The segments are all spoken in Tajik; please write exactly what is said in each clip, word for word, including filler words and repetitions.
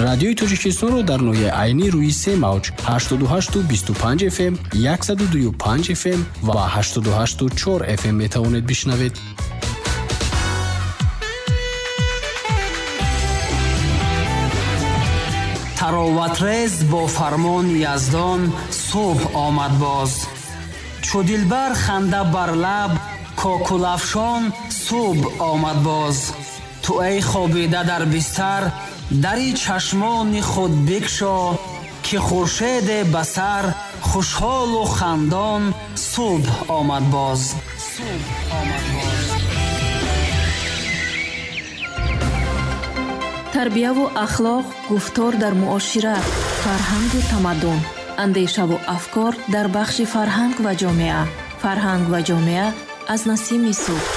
Радиои Тоҷикистонро дар ноҳияи Айнӣ рӯи се мавҷ ҳаштоду ҳашту бисту панҷ эф эм, яксаду дую панҷ эф эм ва ҳаштоду ҳашту чор эф эм метавонед бишнавед. Тароватрез бо фармони Яздон субҳ омад боз. Чу дилбар ханда бар лаб, кокулафшон субҳ омад боз. Ту эй хобида дар бистар, дари чашмони худ бикшо, ки хуршеде ба сар, хушҳолу хандон субҳ омад боз. Субҳ омад боз. Тарбияву ахлоқ, гуфтор дар муошират, фарҳангу тамаддун, андешаву афкор дар бахши фарҳанг ва ҷомеа. Фарҳанг ва ҷомеа аз Насими субҳ.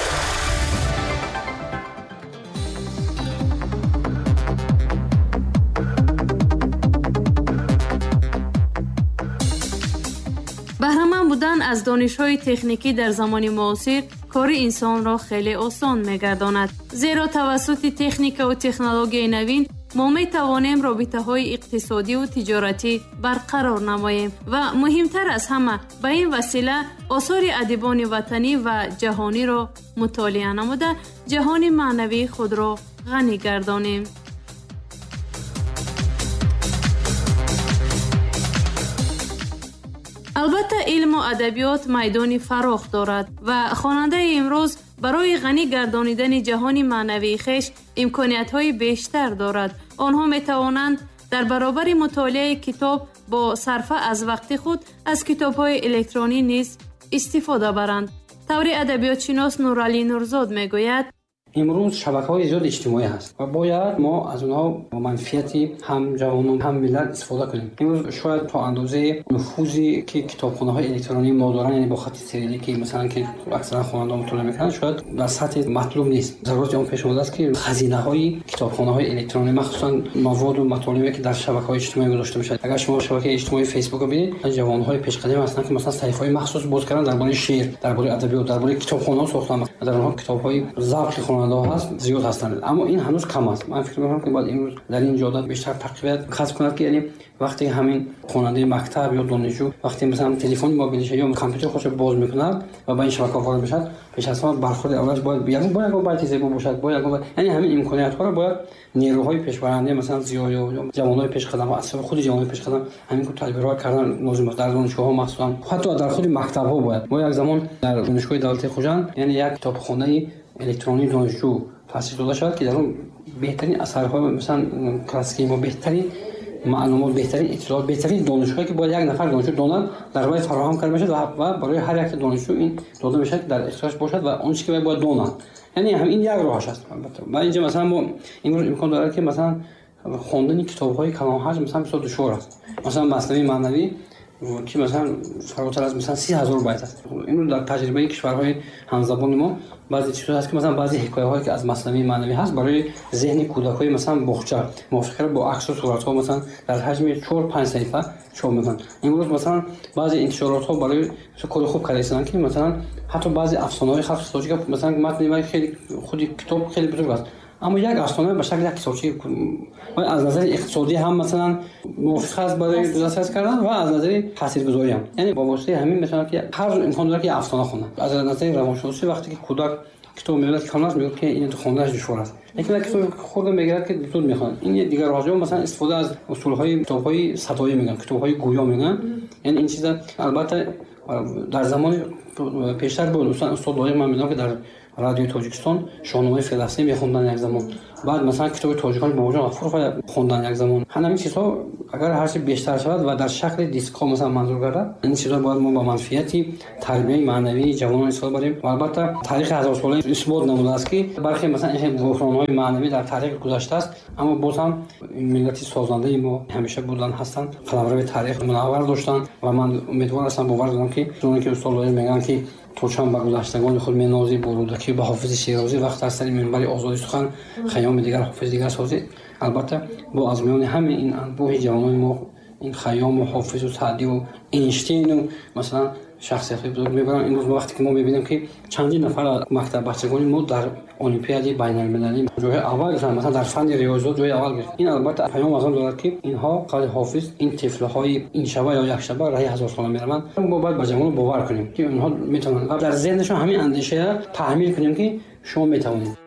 Баҳраманд будан аз донишҳои техникӣ дар замони муосир кори инсонро хеле осон мегардонад, зеро тавассути техникаву технологияи навин мо метавонем робитаҳои иқтисодиву тиҷоратӣ барқарор намоем ва муҳимтар аз ҳама ба ин васила осори адибони ватанӣ ва ҷаҳониро мутолиа намуда ҷаҳони маънавии худро ғанӣ гардонем. Албатта, илму адабиёт майдони фарох дорад ва хонандаи имрӯз барои ғанӣ гардонидани ҷаҳони маънавии хеш имкониятҳои бештар дорад. Онҳо метавонанд дар баробари мутолиаи китоб бо сарфа аз вақти худ аз китобҳои электронӣ низ истифода баранд. Таври адабиётшинос Нуралӣ Нурзод мегӯяд: имрӯз шабакаҳои зиёди иҷтимоӣ ҳаст ва бояд мо аз онҳо бо манфиати ҳам ҷавонон ҳам миллат истифода кунем. Имрӯз шояд то андозаи нуфузе ки китобхонаҳои электронии мо доранд, яъне бо хати сирилӣ ки масалан ки аксаран хонандаҳо мутолиа мекунанд, шояд дар сатҳи матлуб нест. Зарурати он пеш омадааст ки хазинаҳои китобхонаҳои электронӣ, махсусан маводу матолибе ки дар шабакаҳои иҷтимоӣ гузошта мешавад. Агар шумо шабакаи иҷтимоии Фейсбукро бинед, ҷавонҳои пешқадам ҳастанд ки масалан саҳифаҳои махсус боз карданд дар бораи шеър, дар бораи адабиёт, дар бораи китобхонаҳо сохтанд. Дар онҳо китобҳои завқи хонандаҳо ҳаст, зиёд ҳастанд, аммо ин ҳанӯз кам аст. Ман фикр мекунам ки бояд имрӯз дар ин ҷода бештар тақвият касб кунад, ки яъне вақте ҳамин хонандаи мактаб ё донишҷӯ вақте масалан телефони мобилиша ё компютери худро боз мекунад ва ба ин шабакаҳо ворид мешавад, пеш аз ҳама бархӯрди аввалаш бояд ягон бояд ягон байти зебо бошад, бояд ягон, яъне ҳамин имкониятҳоро бояд нерӯҳои пешбаранда, масалан зиёд ё ҷавонҳои пешқадам, аз худи ҷавонҳои пешқадам ҳамин тадбирҳо кардан лозим аст. Дар донишгоҳҳо махсусан, ҳатто дар худи мактабҳо бояд. Мо як замон дар донишгоҳи давлатии Хуҷанд, яъне як китобхонаи электронии донишҷӯ таъсис дода шавад, ки дар он беҳтарин асарҳо, масалан классикии мо, беҳтарин маълумот, беҳтарин иттилоот, беҳтарин донишҳое ки бояд як нафар донишҷӯ донад, дар вай фароҳам карда мешавад ва барои ҳар як донишҷӯ ин дода мешавад, ки дар ихтиёраш бошад ва он чизе ки вай бояд донад. Яъне ҳам ин як роҳаш аст. Албатта ва инҷа масалан мо имрӯз имкон дорад ки масалан хондани китобҳои калонҳаҷм масалан бисёр душвор аст. Масалан Маснавии маънавӣ ки масалан фаротар аз масалан си ҳазор байт аст. Имрӯз дар таҷрибаи кишварҳои ҳамзабони мо баъзе чизҳо ҳаст ки масалан баъзе ҳикояҳое ки аз Маснавии маънавӣ ҳаст барои зеҳни кӯдакҳои масалан боғча мувофиқ бо аксу суратҳо масалан дар ҳаҷми чор панҷ саҳифа чоп мекунанд. Имрӯз масалан баъзе интишоротҳо барои кори хуб карда истодаанд ки масалан ҳатто баъзе афсонаҳои халқи тоҷик масалан матни вай хеле худи китоб хеле бузург аст, аммо як афсона ба шакли як китобча аз назари иқтисодӣ ҳам масалан мувофиқ аст барои дастрас кардан ва аз назари таъсиргузорӣ ҳам. Яъне бо воситаи ҳамин метавонад ки ҳар имкон дорад ки афсона хонад. Аз назари равоншиносӣ вақте ки кӯдак китоб мебинад ки хонаш мегӯяд ки ин хонданаш душвор аст, лекин як китоб хурда мегирад ки зуд мехонад. Ин дигар роҳ масалан истифода аз усулҳои китобҳои садоӣ мегӯянд, китобҳои гӯё мегӯянд. Яъне ин чиза албатта дар замони пештар буд. Устод Лоиқ ман медонам ки дар радиои Тоҷикистон Шоҳномаи Фирдавсӣ мехонданд як замон, баъд масалан китоби тоҷикон Бобоҷон Ғафуров хонданд як замон. Ҳамин чизҳо агар ҳарчи бештар шавад ва дар шакли дискҳо масалан манзур гардад, ин чизҳо бояд мо ба манфиати тарбияи маънавии ҷавонон истифода барем. Ва албатта таърихи ҳазорсола исбот намудааст ки бархе масалан ин буҳронҳои маънавӣ дар таърих гузаштааст, аммо боз ҳам миллати созандаи мо ҳамеша будан ҳастанд, қаламрави таърих мунаввар доштанд ва ман умедвор ҳастам, бовар дорам ки чуноне ки устод Лоиқ мегӯянд ки то чанд ба гузаштагони худ менозӣ, бо Рӯдакӣ, ба Ҳофизи Шерозӣ, вақт аз сари минбари озодӣ сухан Хайёми дигар, Ҳофизи дигар созӣ. Албатта бо аз миёни ҳамаи ин анбӯҳи ҷавонони мо ин Хайёму Ҳофизу Саъдиву Эйнштейну масалан Шахсиятҳои бузург мебаранд. Имрӯз вақте ки мо мебинем, ки чандин нафар аз мактаббачагони мо дар олимпиадаи байналмилалӣ ҷойҳои аввал гирифтанд, масалан, дар фанни риёзиёт ҷои аввал гирифт, ин албатта паём аз он дорад, ки инҳо, қавли Ҳофиз, ин тифлҳои ин шаба ё як шаба раҳи ҳазорсола мераванд. Мо бояд ба ҷавонон бовар кунем, ки онҳо метавонанд, ва дар зеҳнашон ҳамин андешаро таҳмил кунем, ки шумо метавонед.